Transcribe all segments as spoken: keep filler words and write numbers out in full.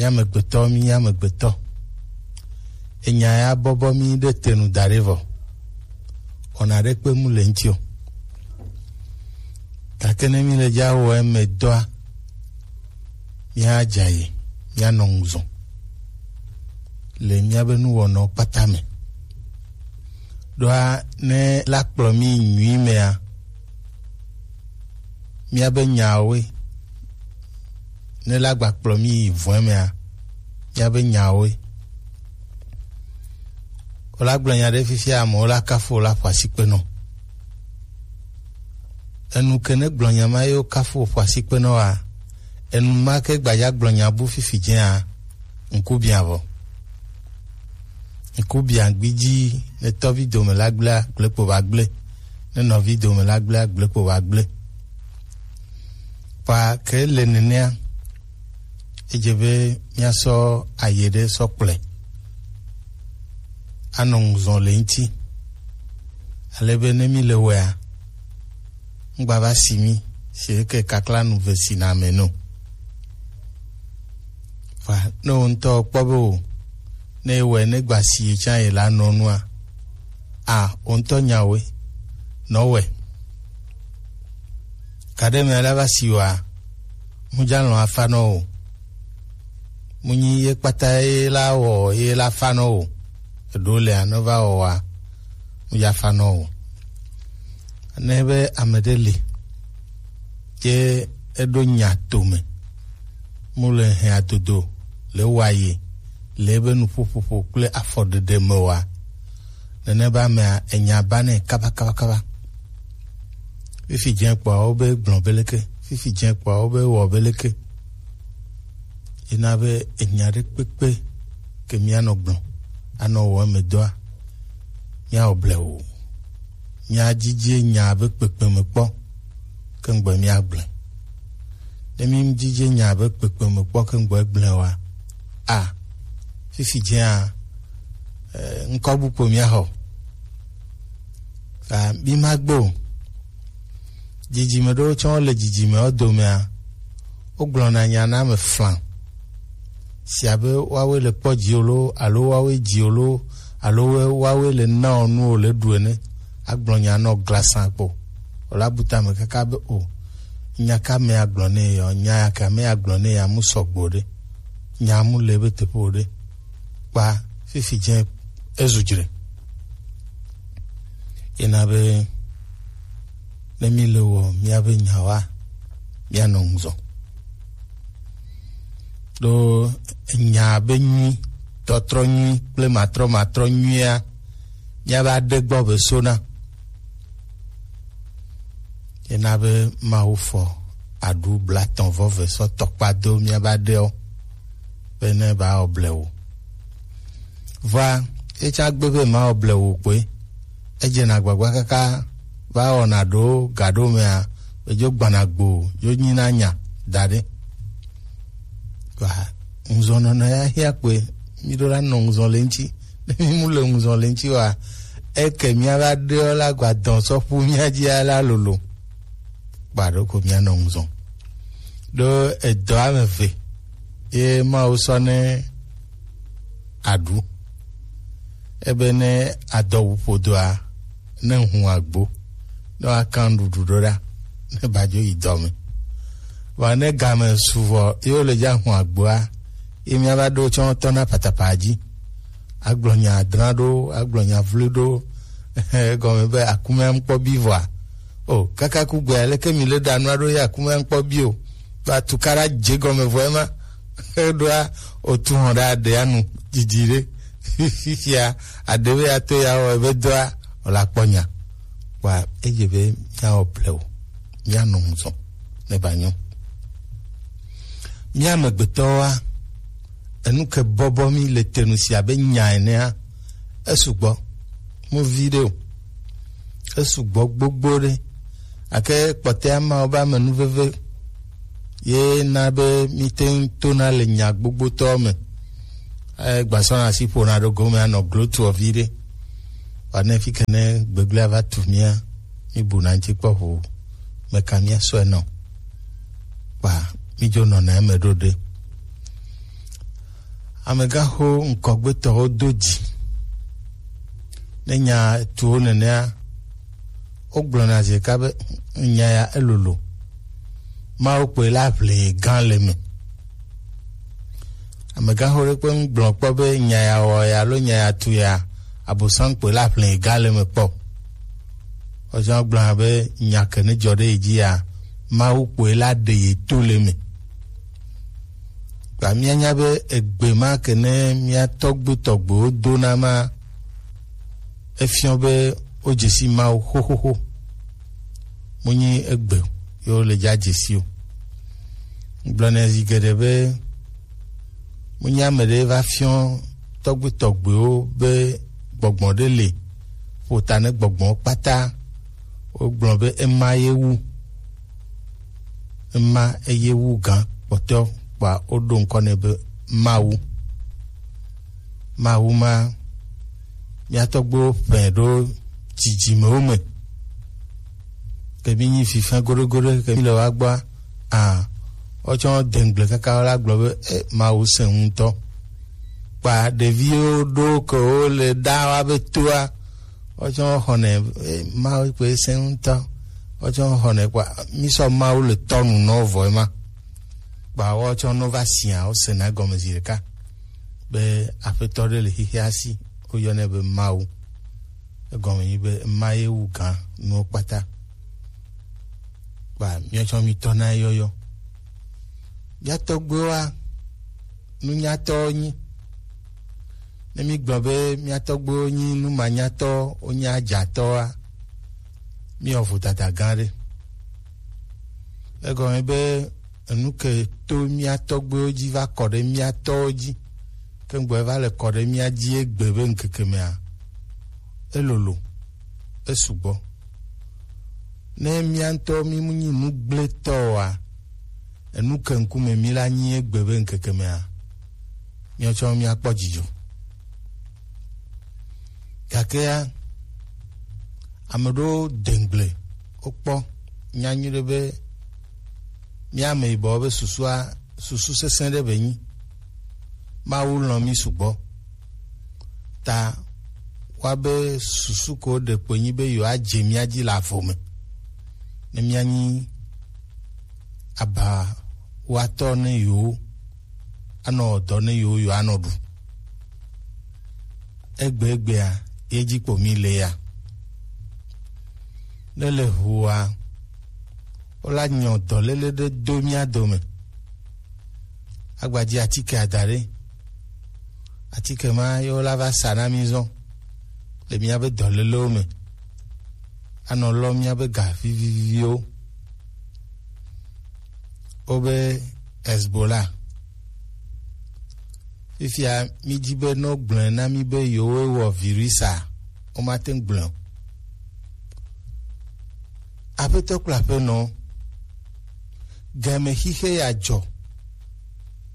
Mí amegbetɔ, mí amegbetɔ. Enya ya bɔbɔ mí ɖe te nu da ɖe vɔ. Wɔna ɖe kpe mu le ŋuti o. Gake ne mí le dza wɔ eme dɔa, mía dza yi, mía nɔ ŋu zɔn le míabe nuwɔnɔ kpata me. Ɖoa ne la kplɔ mí nyui mea, míabe nyawoe. Ne la gba kplɔ mí yi vɔe mea, míabe nyawoe. Wola gblɔ nya ɖe fifia, amewo la kafu, wola ƒo asikpe nɔ. Enu ke ne gblɔ nya ma ye wo kafu ƒo asikpe nɔ wa, enu ma ke gbadza gblɔ nya bu fifi dzea, ŋku bia vɔ. Ŋku bia gbidzi, ne tɔvi dome la gblea, gblekpo va gble. Ne nɔvi dome la gblea, gblekpo va gble. Kpa ke le nenea, edze be míasɔ aye ɖe sɔ kplɔe anɔ ŋuzɔn le ŋuti. Ale be ne mí le wɔea, ŋgba va si mí, si ke kakla nu ve si na ame no. Fa ne wo ŋutɔ kpɔ be o, ne ewɔe ne gba si ye tsã ye la nɔ nua, a, wo ŋutɔ nyawoe, nɔ wɔe. Kaɖe mɛ la va si wa, mu dza lɔn afa nɔ o. Mu nyi ye kpata ye la wɔ ye la fa nɔ o. Eɖo le anɔ va wɔ wa, mu dza fa nɔ o. Ne be ame ɖe li, ye eɖo nya to me, mu le hɛn adodo le wa ye le ebe nuƒoƒoƒo kple afɔɖeɖe me wa. Nene be amea enya ba nɛ kaba kaba kaba. Fifi dze kpɔa wo be gblɔ be leke, fifi dze kpɔa wo be wɔ be leke. Ena be enya ɖe kpekpe ke míanɔ gblɔ, anɔ wɔ eme dɔa, míawɔ blewu. Míadzidzi nya be kpekpe me kpɔ, ke ŋgbɔ míagblẽ. Ne mídzidzi nya be kpekpe me kpɔ, ke ŋgbɔ gblẽ wa, a, fifi dzea, eh, ŋkɔ bu kpo míaxɔ. A, mí magbe o. Dzidzime ɖewo tsɔ le dzidzimewo domea, wogblɔna nya na ame flan. Si abe woawoe le kpɔ dziwò loo, alo woawoe dziwò loo, alo woawoe le na wò nu wòle ɖu ene. Agblɔ nya nɔ glasan kpo. Wòle abu tame kaka be o, nya ka ame agblɔ nɛ yɔ, nya ya ka ame agblɔ nɛ ya mu sɔgbe o ɖe. Nya mu le ebe teƒe o ɖe. Kpa fifi dze ezu dzre. Yena be ne mí le wɔ míabe nyawoa, míanɔ ŋuzɔ. Ɖo nya be nyui, tɔtrɔ nyui kple matrɔ matrɔ nyuia, míava ɖe gbɔ be sona. Yena be Mawu fɔ aɖu blatɔn vɔ ve sɔ tɔkpa do míaba ɖewo be ne ba wɔ blewu. Vɔa, etsã gbe be ma wɔ blewu kpoe. Edze na gbagba kaka va wɔna ɖo ga ɖo mea, edzo gbana gbo, dzo nyina nya da ɖe. Kpa ŋuzɔnɔnɔ ya hia kpoe, mí ɖo la nɔ ŋuzɔn le ŋuti. Ne mí mu le ŋuzɔn le ŋuti wa, eke mía va ɖe la gba dɔn sɔ ƒu mía dzi la lolo. Kpa ɖo ko mía nɔ ŋuzɔn. Ɖo edɔ ame ve ye Mawu sɔ ne aɖu. Ebe ne adɔ wu ƒodoa, ne ŋu agbo, ne woakan nuɖuɖu ɖo ɖa, ne badzo yi dɔ me. Vɔa ne game su vɔ ye wole dza ŋu agboa, ye míava ɖo tsɔ tɔ na patapa dzi. Agblɔ nya adra ɖo, agblɔ nya vlu ɖo, egɔme be akumea ŋkpɔ bi vɔa. O, kaka ku gbea, leke mi le ɖa nua ɖo ye akumea ŋkpɔ bi o. Ba tukaɖa dze gɔme vɔ ema. Eɖoa, otu hɔn ɖe aɖe anu didi ɖe. Fifia, aɖe be ato ya wɔ ebe dɔa, wòle akpɔ nya. Kpa edze be míawɔ blewu, míanɔ ŋu zɔn, ne ba nyɔ. Mía amegbetɔwoa, enu ke bɔbɔ mí le te nu si abe nya enea, esugbɔ, mu vi ɖe o. Esugbɔ gbogbo ɖe. Gake kpɔtɔa ma wobe amenuveve ye na be míte ŋu tona le nya gbogbotɔwo me. Egbasɔna asi ƒona ɖo gome anɔ glotoɔ vi ɖe. Vɔa ne fi ke ne gbegblẽa va tu mía, míbuna ŋuti kpɔ ʋu, meka míasɔe nɔ. Kpa mídzo nɔna eme ɖo ɖe. Amegãxo ŋkɔgbetɔwo do dzi ne nya tuwo nenea, wogblɔna zi ɖeka be nya ya elolo. Mawu kpoe la ʋli gã le eme. Amegãxo ɖe kpe ŋgblɔ kpɔ be nya ya wɔ ya alo nya ya tu ya, Abosam kpoe la ʋli gã le eme kpɔ. Woatsɔ gblɔna be nya ke ne dzɔ ɖe yi dzi ya, Mawu kpoe la ɖe ye to le eme. Kpa míanya be egbe ma ke ne mía tɔgbi tɔgbiwo dona ma, efiɔ be wodze si Mawu xoxoxo. Mu nyi egbe ye wole dza dze si o. Gblɔ nɛ zi geɖe be, mu nyi ame ɖe va fiɔ tɔgbi tɔgbiwo be gbɔgbɔ ɖe le ƒo ta ne gbɔgbɔwo kpata. Wogblɔ be ema ye wu. Ema eye wu gã kpɔtɔ kpa woɖo ŋkɔ nɛ be Mawu. Mawu ma, mía tɔgbuiwo ƒe ɖo dzidzimewo me. Ke mi nyi fifɛ goɖogoɖo ke mi le wa gbɔa, a, wotsɔ dengble kaka wo la gblɔ be, e, Mawu sẽ ŋutɔ. Kpa ɖeviwo ɖo ke wo le ɖa wa be toa, wotsɔ xɔnɛ, e, Mawu kpe sẽ ŋutɔ. Wotsɔ xɔnɛ kpa mi sɔ Mawu le tɔnu nɔ vɔ ma. Kpa wotsɔ nɔ va sia, wo sena gɔme zi ɖeka be Aƒetɔ ɖe le xixea si, woyɔnɛ be Mawu. Egɔme nyi be ema ye wu gã nuwo kpata. Kpa míatsɔ mítɔ na eyɔyɔ. Mía tɔgbuiwoa, nunyatɔwo nyi. Ne mígblɔ be mía tɔgbuiwo nyi numanyatɔwo, wonye adzatɔwoa, míewɔ vodada gã ɖe. Egɔme be enu ke to mía tɔgbuiwo dzi va kɔ ɖe mía tɔwo dzi, ke ŋgbɔ va le kɔ ɖe mía dzi egbe be ŋkeke mea, elolo, esugbɔ. Ne mía ŋutɔ mí mu nyi nugblẽtɔ oa, enu ke ŋkume mí la nyi egbe be ŋkeke mea, míawo tsã míakpɔ dzidzɔ. Gakea, ame ɖewo dengble, wokpɔ nya nyuie ɖe be mía ame yibɔwo be susua, susu sesẽ ɖe be nyi. Mawu lɔ̃ mí sugbɔ. Ta woabe susu ko ɖe kpoe nyi be yewoadze mía dzi le avo me. Ne míanyi abawatɔ ne yewo, anɔ dɔ ne yewo, yewoanɔ ɖu. Egbegbea, ye dzi kpo mí le ya. Ne le ʋua, wola nyɔ dɔléle ɖe do mía dome. Agbadzi atike ada ɖe. Atike ma ye wola va sa na mí zɔn le míabe dɔlélewo me. Anɔ lɔ míabe ga viviviwo. Wobe Hezbollah. Fifia, mídi be ne wogblɔe na mí be yewoe wɔ virus a, womate ŋu gblɔe o. Aƒetɔ kple aƒenɔ, game xixe ya dzɔ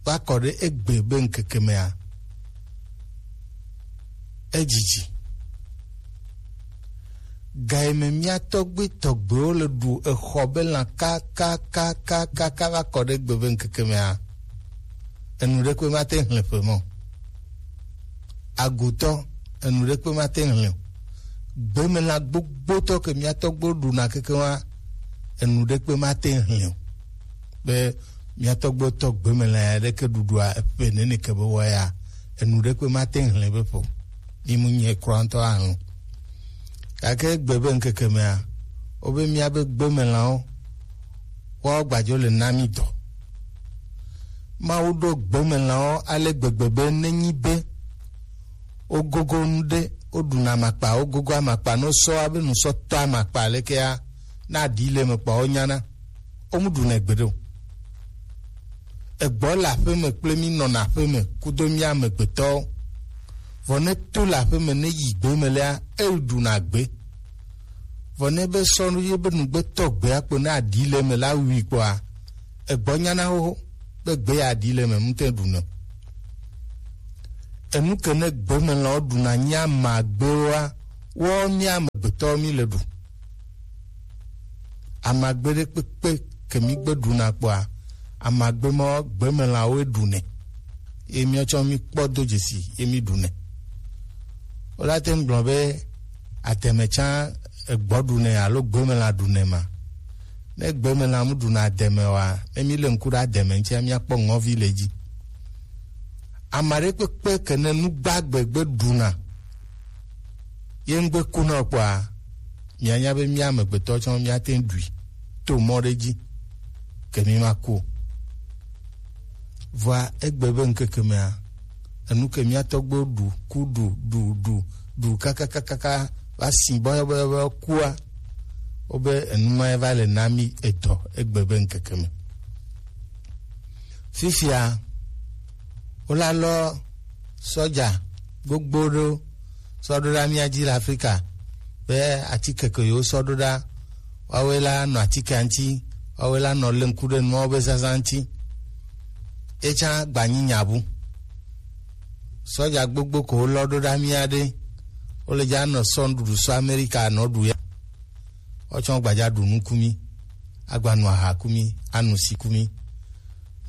va kɔ ɖe egbe be ŋkeke mea, edzidzi. Ga yi me mía tɔgbi tɔgbiwo le ɖu exɔ be lã kakakakaka va kɔ ɖe egbe be ŋkeke mea, enu ɖekpe mate ŋu hlẽ ƒe mɔ. Agutɔ, enu ɖekpe mate ŋu hlẽ o. Gbemelã gbogbotɔ ke mía tɔgbiwo ɖuna keke wa, enu ɖekpe mate ŋu hlẽ o. Be mía tɔgbiwo tɔ gbemelã ya ɖeke ɖuɖua eƒe nene ke be wɔ ya, enu ɖekpe mate ŋu hlẽ be ƒo. Mí mu nyɛ kura ŋutɔ ahlẽ o. Gake egbe be ŋkeke mea, wobe míabe gbemelãwo, woawo gbadzo le na mí dɔ. Mawu ɖo gbemelãwo ale gbegbe be nenyi be wogogo nu ɖe, woɖuna amakpa, wogogo amakpa, ne wosɔ abe nusɔtɔ amakpa lekea, ne aɖi le eme kpɔa, wonyana. Womu ɖunɛ gbeɖe o. Egbɔ le aƒeme kple mí nɔna aƒeme kudo mí amegbetɔwo. Vɔ ne to le aƒeme ne yi gbe me lea, eɖuna gbe. Vɔ ne be sɔ ye be nugbe tɔ gbea kpo ne aɖi le eme la wui kpɔa, egbɔ nyana xoxo be gbe ya aɖi le eme ŋutɔ ɖunɛ. Enu ke ne gbemelãwo ɖuna nyi amagbewoa, wɔ mí amegbetɔwo mí le ɖu. Amagbe ɖekpekpe ke mí gbe ɖuna kpɔa, amagbe ma gbemelãwoe ɖunɛ. ye miɔtsɔ mi kpɔ do dzesi ye mi ɖu nɛ. Wo la te ŋu gblɔ be ademe tsã egbɔ ɖu nɛ alo gbemela ɖu nɛ ma. Ne gbemela mu ɖuna ademe wa, ne mi le ŋku ɖe ademe ŋutia, miakpɔ ŋɔvi le dzi. Ame aɖe kpekpe ke ne nu gbagbe gbe ɖuna, ye ŋgbe ku na o kpɔa, mianya be mia amegbetɔ tsɔ miate ŋu ɖui to mɔ ɖe dzi ke mi ma ku o. Vɔa egbe be ŋkeke mea, enu ke mia tɔgbewo ɖu ku ɖu ɖu ɖu ɖu kakakakaka va si bɔyɔbɔyɔ kua, wobe enu ma va le na mi edɔ egbe be ŋkeke me. Fifia, wolalɔ sɔdza gbogbo ɖewo sɔ ɖo ɖe mía dzi le Afrika be atike ke yewo sɔ ɖo ɖa, woawoe la nɔ atikea ŋuti, woawoe la nɔ le ŋku ɖe nuawo be zazã ŋuti. Etsã gbanyi nya bu. Sɔdza gbogbo ko wolɔ ɖo ɖa mía ɖe, wole dza nɔ sɔ nuɖuɖu sɔ Amerika nɔ ɖu ya. Wotsɔ gbadza ɖu nu ku mí, agba nu aha ku mí, anu si ku mí.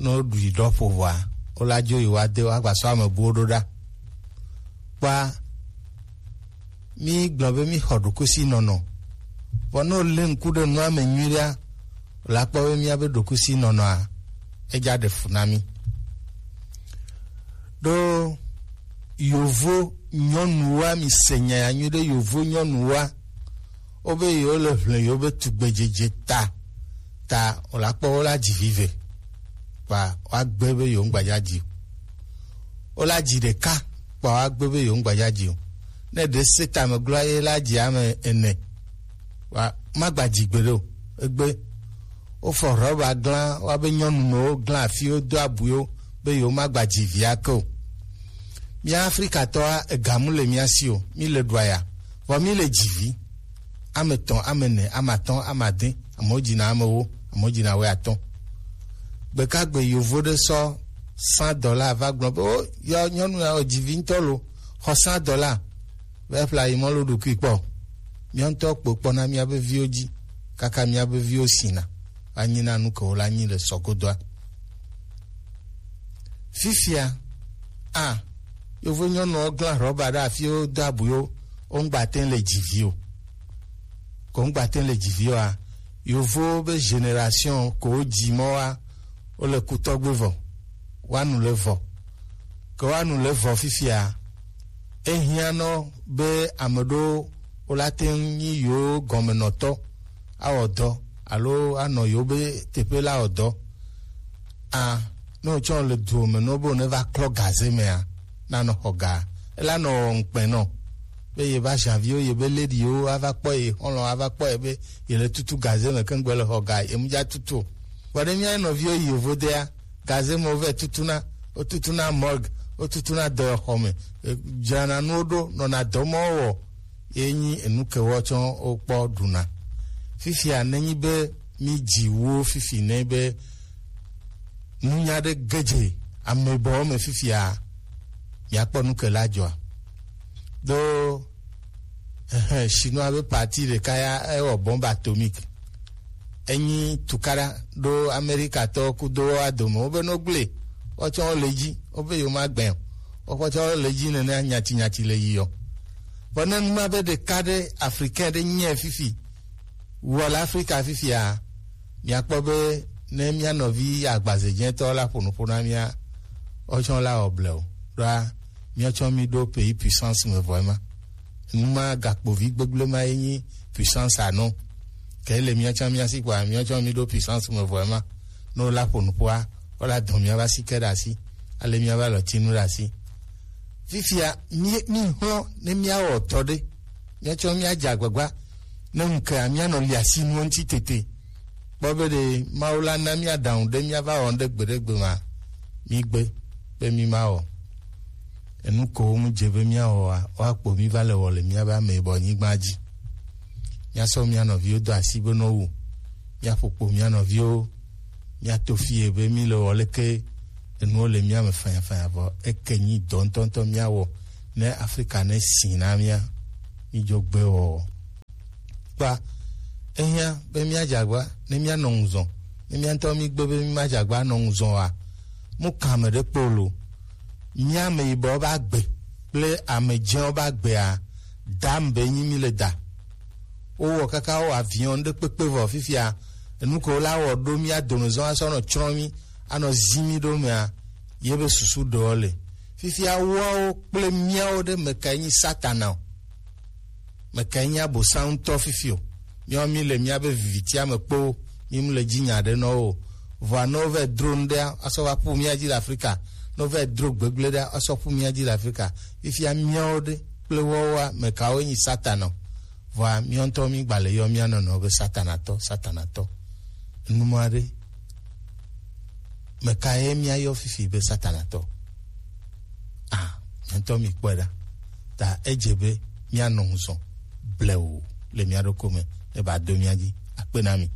Ne woɖui ɖɔ ƒo vɔa, wola dzo yi woade wo agba sɔ ame buwo ɖo ɖa. Kpɔa, mí gblɔ be mí xɔ ɖokusinɔnɔ. Vɔ ne wole ŋku ɖe nua me nyuiɖea, wòle akpɔ be míabe ɖokusinɔnɔa, edza ɖe fu na mí. Ɖo yovo nyɔnuwoa, mi se nya ya nyuiɖe, yovo nyɔnuwoa, wobe yewo le ʋle yewo be tugbedzedze ta, ta wòle akpɔ wola dzi vi ve, kpa woagbe be yewo ŋgbadza dzi o. Wola dzi ɖeka, kpa woagbe be yewo ŋgbadza dzi o. Ne ɖe se tame gloa ye la dzi ame ene, wa magba dzi gbeɖe o. Egbe wofɔ rɔba glã, woabe nyɔnu mewo glã afi wodo abuiwo be yewo magba dzi via ke o. Mía Afrikatɔa, egamu le mía si o, mí le ɖua ya, vɔ mí le dzi vi. Ame etɔ̃, ame ene, ame atɔ̃, ame ade, amewo dzina ame ewo, amewo dzina wuiatɔ̃. Gbekagbe yovo ɖe sɔ cent dollars va gblɔ be, o, yɔ nyɔnu ya wòdzi vi ŋutɔ lo, xɔ cent dollars. Be eƒle ayi mɔ lo ɖokui kpɔ. Mía ŋutɔ kpo kpɔna míabe viwo dzi, kaka míabe viwo sina, va nyina nu ke wola nyi le sɔgodoa. Fifia, a, yovo nyɔnuwo glã rɔba ɖe afi wodo abuiwo, wo ŋgba te le dzi vi o. Ko ŋgba te le dzi vi oa, yovo be génération ko wodzi mɔ wa, wole ku tɔgbe vɔ, woanu le vɔ. Ke woanu le vɔ fifia, ehiã nɔ be ame ɖewo wola te ŋu nyi yewo gɔmenɔtɔ awɔ dɔ alo anɔ yewo be teƒe la wɔ dɔ. A, ne wotsɔ le duwo me ne wobe ne va klɔ gaze mea, nanɔ xɔ ga. Ela nɔ wɔ ŋkpɛ nɔ be ye va janvier ye be lady yewo ava kpɔ ye xɔlɔ ava kpɔ ye be ye le tutu gaze me keŋgbe le xɔ ga ye mu dza tutu o. Vɔ ɖe mía nɔviwo yi yovo dea, gaze me wovɛ tutuna, wotutuna morgue, wotutuna dɔyɔxɔ me, e, dzrana nuwo ɖo, nɔna dɔ mɔ wɔ, ye nyi enu ke wotsɔ wokpɔ ɖuna. Fifia nenyi be mí dzi wo fifi ne be nunya ɖe gedze amebɔwo me fifia, miakpɔ nu ke la dzɔa. Ɖo, ehe, Chinois be parti ɖeka ya ewɔ bombe atomique. Enyi tukaɖa ɖo Amerikatɔwo kudo woa dome. Wobe no gblẽ, wotsɔ wo le dzi, wobe yewo ma gbẽ o. Wotsɔ wo le dzi nene nyati nyati le yi yɔ. Vɔ ne nu ma be ɖeka ɖe Africain ɖe nyɛ fifi, wɔ le Afrika fifia, miakpɔ be ne mía nɔvi agbazedzɛtɔ la ƒo nu ƒo na mía, wotsɔ la wɔ ble o. Ɖoa, míatsɔ mí ɖo pays puissance me vɔ ema. Nu ma gakpo vi gbegble ma ye nyi puissance anɔ. Ke le míatsɔ mía si kpɔa, míatsɔ mí ɖo puissance me vɔ ema. Ne wola ƒo nu ƒoa, wola dɔn mía va si ke ɖe asi. Ale mía va lɔ tinu ɖe asi. Fifia, mí, mí hlɔ̃ ne mía wɔ tɔ ɖe. Míatsɔ mía dze agbagba. Ne ŋkea, mía nɔ li asi nuwo ŋuti tete. Kpɔ be ɖe Mawu la na mía ɖaŋu ɖe mía va wɔ ŋɖe gbeɖegbe ma, mí gbe be mí ma wɔ. Enu ko wo mu dze be mía wɔa, woakpo mí va le wɔ le mía be ame yibɔ nyigba dzi. Mía sɔ mía nɔviwo do asi be no wu. Mía ƒo kpo mía nɔviwo, mía to fie be mí le wɔ leke enuwo le mía me fanyafanya vɔ eke nyi dɔ ŋutɔŋutɔ mía wɔ ne Afrika ne si na mía. Mí dzo gbe wɔwɔ. Kpa, ehiã be míadze agba ne míanɔ ŋu zɔm. Ne mía ŋutɔ mígbe be mímadze agba anɔ ŋu zɔm oa, mu kan ame ɖe kpɔ o lo. Mía ame yibɔ ba gbe kple ame dzewo ba gbea, dam be nyi mi le da. Wowɔ kaka wowɔ avion ɖe kpekpe vɔ fifia, enu ko la wɔ ɖo mía domezɔ asɔ nɔ tsrɔ̃ mi, anɔ zi mi ɖo mea, ye be susu ɖewo le. Fifia woawo kple míawo ɖe mekae nyi Satana o? Mekae nyi Abosam ŋutɔ fifi o? Míawo mi le míabe vivitia me kpo, mi mu le dzi nya ɖe nɔ wo. Vɔa ne wovɛ dro nu ɖea, asɔ va ƒu mía dzi le Afrika. Ne wovɛ dro gbegble ɖea, asɔ ƒu mía dzi le Afrika. Fifia míawo ɖe kple woawoa, mekawoe nyi Satana o? Vɔa míawo ŋutɔ mi gba le yɔ mía nɔnɔewo be Satanatɔ, Satanatɔ. Numɔ aɖe, meka ye míayɔ fifi be Satanatɔ? Ah, mía ŋutɔ mi kpɔe ɖa. Ta edze be míanɔ ŋu zɔ blewu le mía ɖokui me, ne ba do mía dzi. Akpe na mi.